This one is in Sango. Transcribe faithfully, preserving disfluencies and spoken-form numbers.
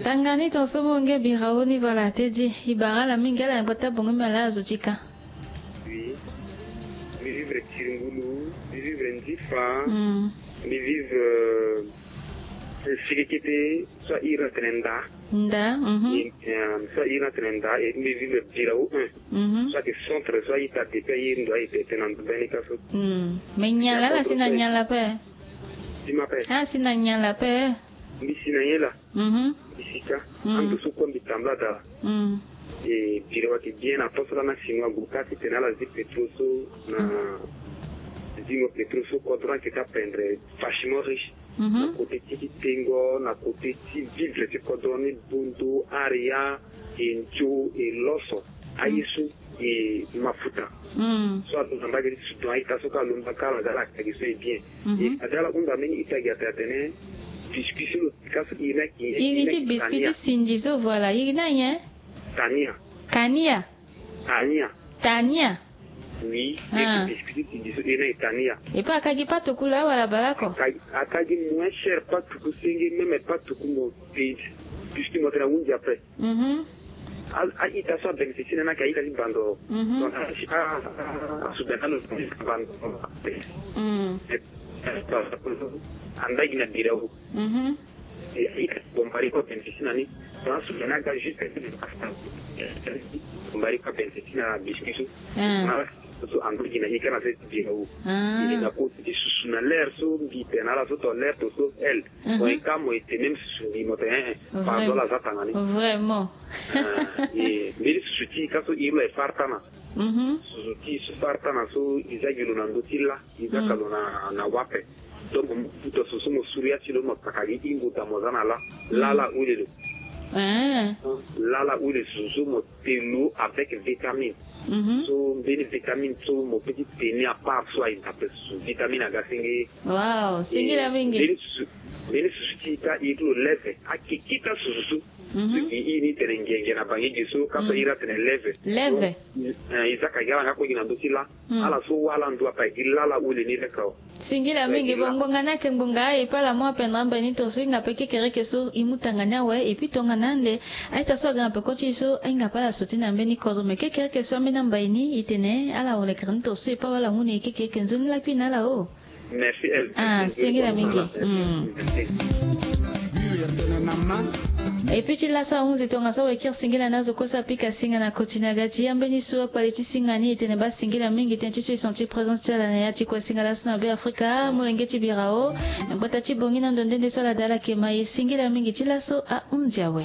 Tanga ni ton so mo nge bira wo ni vala te di. I bara ala mingi ala na gbata bongo mi ala azo ti ka. Oui. Mi vivre Tiringulu, mi vivre Ndifa, Mm. mi vivre, euh, Sikikiti, so a iri na tene Nda. Nda, mhm. Et, euh, so a iri na tene Nda, et mi vivre Birao un. Mhm. So ayeke centre, so a-ita depuis a iri ndo a-ita ete na ndo beni ka so. Mm. Mais Nyan la, ala si na Nyan la pe? Ti ma pe. Ala si na Nyan la pe? Mbi si na nyen la? Mhm. Mbi si ka. Mm. Ando so kue mbi tambula daa. Mm. E Birao ayeke bien na poste la na Chinois Gouka ti tene ala zi pétrole so na zingo pétrole so kodro ayeke ti apendre vachement riche. Mhm. Na côté ti kitengo, na côté ti vivre ti kodro ni, Bondo, Aria, e Nzo, e Loso. Aye so e mafuta. Mm. So alondo na mbage ti Soudan, a-ita so ka alondo ka ala ga ala kagi so e bien. Mhm. E fade ala hunda mbeni ita gi ape atene biscuit so lo pika so iri ni ayeke, iri ti biscuit ti sinzi so, voilà, iri ni anyen? Tania. Kania. Tania. Tania. Oui, ah. Iri ti biscuit ti sinzi so iri ni ayeke Tania. E pe akagi patuku laa wala bale oko? Akagi, akagi moins cher patuku senge, même patuku mo pe biscuit mo tene ahunzi ape. Mhm. A, a-ita so abénéficié na ni ayeke a-ita ti bando. Mhm. Donc, a, a, a, asoudan alo bando. Mm. Andagi na Birao. Mhm. E, a-ita ti Bombari kue abénéficié na ni. Donc asoudan ni aga juste Bombari kue abénéficié na biscuit so. Ah. So ando gi na i ka na se ti Birao. Ah. E na koti ti susu na l'air so mbi tene na ala so to l'air to sauve elle. Mhm. Bon, e ka mo ete même susu mbi mo tene, eh, eh, pardon, la za tanga ni. Vraiment. Ah, e mbeni susu ti i ka so iri lo e fartana. Mhm. Susu ti i so fartana so i za gi lo na ndö ti la, i za ka lo na, na wape. Donc mo buta susu so mo suru ya ti lo mo saka gi i mbuta mo za na la. Mm. Lala ule lo. Eh. Lala ule susu so mo te lo avec vitamine. Mhm. So mbeni vitamine so mo peut ti tene à part so aye na pe susu vitamine aga senge. Wow, singila mingi. Mbeni susu, mbeni susu ti ita iri ti lo leve, akekita susu so. Mhm. So gi i ni tene ngienge na bangi gi so ka so iri atene leve. Leve. So, eh, i za ka gi ala nga kue gi na ndö ti la. Mm. Ala so wala ndu ape agi lala ule ni leke awe. Singila mingi. Bon, ngbonga ni ayeke ngbonga e pe ala mu apendre ambai ni tongaso e hinga pe kekereke so e mu tanga ni awe et puis tongana ande a-ita so aga na peko ti e so ahinga pe ala sauté na mbeni kodro, mais kekereke so ambeni ambai ni e tene ala wulekere ni tongaso e pe awe ala mu na e kekereke. Nzoni lakui na ala o. Merci, elle. Ah, singila mingi. Mm. Et puis ti laso ahunzi tongaso awe kiri singila na azo kue so apika singa na koti na ga ti ambeni so akpale ti singa ni e tene baa singila mingi tënë ti so e senti présence ti ala na ya ti kue singa laso na Be Afrika, molenge ti Birao. Na gbata ti Bongi na ndo nde nde so ala daa ala yeke ma e, singila mingi ti laso ahunzi awe.